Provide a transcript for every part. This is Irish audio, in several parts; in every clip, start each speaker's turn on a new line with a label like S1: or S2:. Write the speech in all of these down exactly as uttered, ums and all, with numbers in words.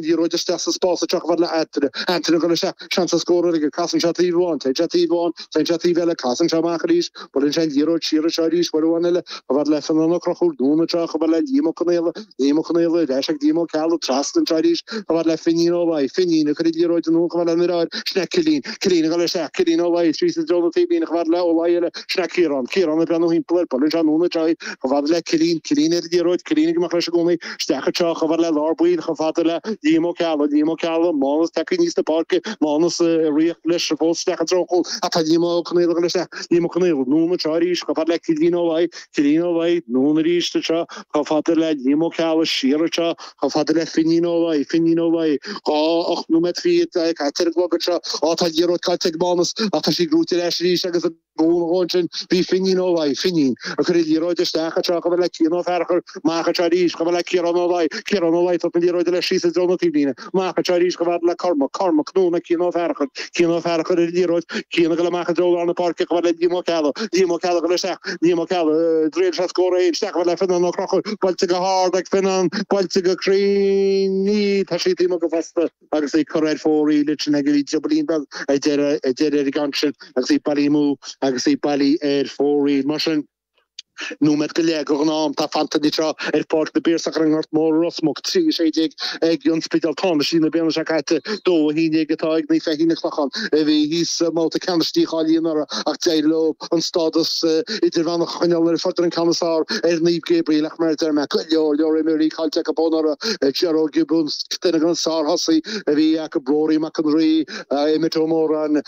S1: Liathróid isteach sa spás anseo chomh fada le Antaine. Antaine ag dul isteach, seans ar scór aige. Casann sé taobh amháin, téann sé taobh amháin, téann sé taobh eile, casann sé amach arís, buaileann sé an liathróid siar anseo arís, uair amháin eile, chomh fada le Fionán Ó Conchúir, anonn anseo chomh fada le Liam Ó Conaola, Liam Ó Conaola ar ais ag Liam Ó Ceallaigh, trasna anseo arís, chomh fada le Finín Ó Laoi, Finín ag cur an liathróid anonn chomh fada lena dheartháir, sin é Cillian, Cillian ag dul isteach, Cillian Ó Laoi síos i dtreo na taobhlíne chomh fada le Ó Laoi eile, sin é Ciarán, Ciarán ag breathnú thimpeall air, buaileann sé anonn anseo í, chomh fada le Cillian, Cillian ar an liathróid, Cillian ag imeacht leis i gcónaí, isteach anseo chomh fada le lár baill, chomh fada le Liam Ó Ceallaigh, Liam Ó Ceallaigh, Mánas tagtha aníos na páirce, Mánas ag rith leis fós isteach i dtreo an chúil, ach tá Liam Ó Conaola ag dul isteach, Liam Ó Conaola, anonn anseo arís, chomh fada le Cillian Ó Laoi, Cillian Ó Laoi, anonn arís anseo, chomh fada le Liam Ó Ceallaigh, siar anseo, chomh fada le Finín Ó Laoi, Finín Ó Laoi, dhá ocht nóiméad fichead caite ar an gclog anseo, á tá an liathróid caillte ag Mánas, ach tá sí gnóite ar ais arís agus an bua ansin bhí Finín Ó Laoi, Finín, ag cur an liathróid isteach anseo chomh fada le Cian Ó Fearchair, amach anseo arís chomh fada le Ciarán Ó Laoi, Ciarán Ó Laoi, tabhairt na liathróide leis síos i dtreo na taobhlíne, amach anseo arís chomh fada le Cormac, Cormac, anonn ag Cian Ó Fearchair, Cian Ó Fearchair ar an liathróid, Cian ag dul amach i dtreo lár na páirce chomh fada le Liam Ó Ceallaigh, Liam Ó Ceallaigh ag dul isteach, Liam Ó Ceallaigh, dtriail sé scór é féin, isteach chomh fada le Fionnán Ó Conchúir, buailte go hard ag Fionnán, buailte go cruinn, ní, tá sí taobh amuigh go fosta agus í curtha ar fóraoil ansin ag bhí diobailín beag ag deireadh ar an gceann sin agus í bailithe amú agus í bailithe ar fóraoil. Mar sin, nóiméad go leith den am atá fanta anseo ar Pháirc na bPiarsach ar an nGort Mór i Ros Muc, trí a sé déag ag an Spidéal Tánaistí na bliana seo caite, dó a haon déag atá ag Naomh Feichín an Clochán a bhí thíos i mbabhta ceannais dícháilithe anuraidh ach d'éirigh leo an stádas idirmheánach a choinneáil nuair a fuaireadar an ceann is fearr ar Naomh Gabriel ach mar a deir mé, go leor leor imreoirí caillte acu ó anuraidh, Ger Ó Giobúin, duine de na sárthosaithe a bhí acu, Rory Mac an Rí, Emmet Ó Móráin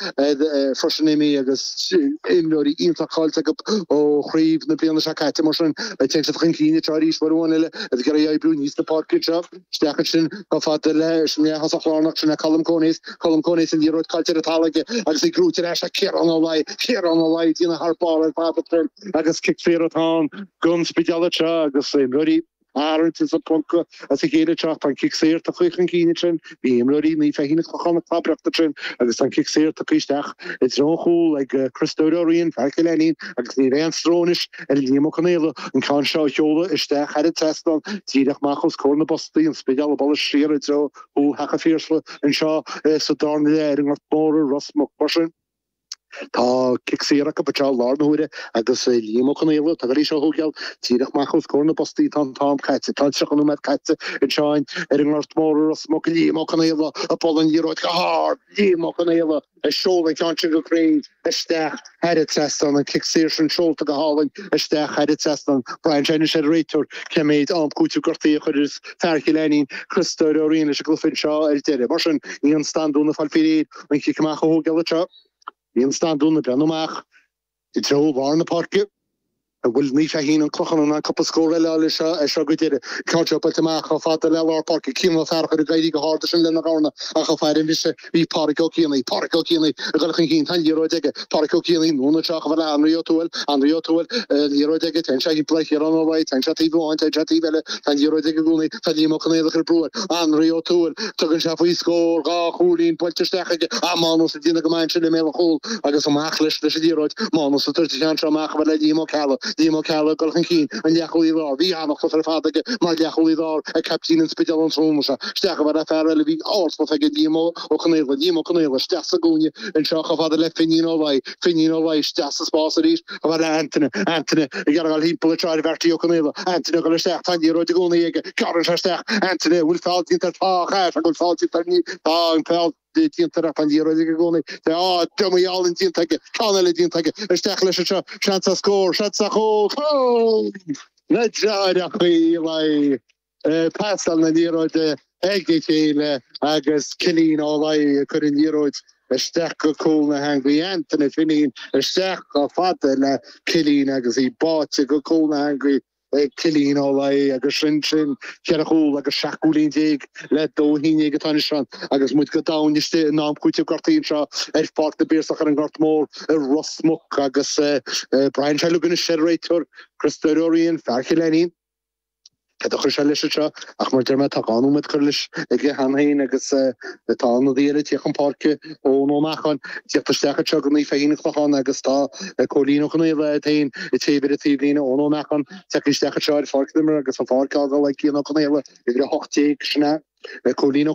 S1: freisin imithe agus imreoirí iontach caillte acu ó chraobh na bliana seo caite. Mar sin, téann siad chun cinn anseo arís uair amháin eile ag iarraidh oibriú aníos na páirce anseo. Isteach ansin chomh fada leis an leath-thosach lárnach, sin é Colm Coneys. Colm Coneys an liathróid caillte ar an talamh aige agus í gnóite ar ais ag Ciarán Ó Laoi. Ciarán Ó Laoi ag déanamh thar barr ar fad ansin agus cic saor atá ann don Spidéal anseo agus imreoirí arraint is ag ploncadh as a chéile anseo. Tá an cic saor tagtha chun cinn ansin. Bhí imreoirí Naomh Feichín an Chlocháin ag clabaireacht ansin agus tá an cic saor tagtha isteach i dtreo an chúil ag Criostóir Ó Riain, fear Chill Ainnín, agus ní bheidh aon stró anois ar Liam Ó Conaola an ceann seo a sheoladh isteach thar an trasnán díreach amach os comhair na bpostaí, an Spidéal ag bualadh siar i dtreo chúl Theach an Phiarsaigh anseo sa darna leath ar an nGort Mór i Ros Muc. Mar sin. Tá cic saor acu anseo i láthair na huaire agus Liam Ó Conaola atá ag dul í seo a thógáil díreach amach os comhair na bpostaí. Tá an t-am caite. Tá an tríocha nóiméad caite anseo ar an nGort Mór i Ros Muc. Liam Ó Conaola ag bualadh an liathróid go hard. Liam Ó Conaola ag seoladh an ceann sin go cruinn isteach thar an trasnán. An cic saor sin seolta go hálainn isteach thar an trasnán. Braitheann sé anois ar an réiteoir cé méid am cúitimh gortaithe a chuirfeas fear Chill Ainnín, Criostóir Ó Riain leis an gcluiche anseo ar deireadh. Mar sin, Ian Standún ag fáil faoi réir an cic amach a thógáil anseo. Ian Standún ag breathnú amach i dtreo lár na páirce. An bhfuil Naomh Feichín an Clochán in ann cúpla scór eile a fháil as seo go deireadh? Ceann seo buailte amach chomh fada le lár páirce. Cian Ó Fearchair ag éirí go hard ansin lena dhorna ach ag faire an bhriseadh bhí Pádraig Ó Cianaigh. Pádraig Ó Cianaigh ag dul chun cinn. Tá an liathróid aige. Pádraig Ó Cianaigh anonn anseo chomh fada le Anraí Ó Tuathail. Anraí Ó Tuathail. Liathróid aige. Téann sé thimpeall ar Chiarán Ó Laoi. Téann sé taobh amháin. Téann sé taobh eile. Tá an liathróid aige i gcónaí. Tá Liam Ó Conaola ag cur brú air. Anraí Ó Tuathail. Tugann sé faoi scór. Dhá chúilín buailte isteach aige. Ach Mánus ag déanamh go maith ansin i mbéal an chúil agus amach leis leis an liathróid. Mánus ag tabhairt an ceann seo amach chomh fada le Liam Ó Ceallaigh. Liam Ó Ceallaigh ag dul chun cinn, an leathchúlaí láir. Bhí an-chluiche ar fad aige mar leathchúlaí láir ag caiptín an Spidéil an tráthnóna seo. Isteach chomh fada le fear eile a bhí ardchluiche aige, Liam Ó Conaola. Liam Ó Conaola isteach sa gcúinne anseo chomh fada le Finín Ó Laoi. Finín Ó Laoi isteach sa spás arís chomh fada le Antaine. Antaine ag iarraidh a dhul thimpeall anseo ar Bheartaí Ó Conaola. Antaine ag dul isteach. Tá an liathróid i gcónaí aige. Gearrann sé isteach. Antaine, bhfuil feall déanta air? Tá, chaith, bhfuil feall déanta air? Tá an feall. déanta air ach tá an liathróid aige i gcónaí. Tá dummy álainn déanta aige, ceann eile déanta aige. Isteach leis anseo, seans ar scór, seans ar chúl, cúl! Na deartháireacha Uí Laoi ag pasáil na liathróide ag a chéile agus Cillian Ó Laoi ag cur an liathróid isteach go cúl na heangaí. Antaine Finín isteach chomh fada le Cillian agus í báite go cúl na heangaí. ag Cillian Ó Laoi agus sin sin ceithre chúl agus seacht gcúilín déag le dó a haon déag atá anois ann agus muid go domhain istigh in am cúitimh gortaithe anseo ar Pháirc na bPiarsach ar an nGort Mór i Ros Muc agus braitheann sé uilig anois ar an réiteoir Criostóir Ó Riain, fear Chill Ainnín. Cad a chuir sé leis anseo ach mar a deir mé tá dhá nóiméad curtha leis aige cheana féin agus tá ionadaí eile ag tíocht chun páirce, Eoin Ó Meacháin, ag tíocht isteach anseo do Naomh Feichín an Clochán agus tá Cóilín Ó Conaola é féin ag taobh ar an taobhlíne, Eoin Ó Meacháin tagtha isteach anseo ar pháirc na himeartha agus an pháirc á fhágáil ag Cian Ó Conaola, uimhir a hocht déag, sin é. Cóilín.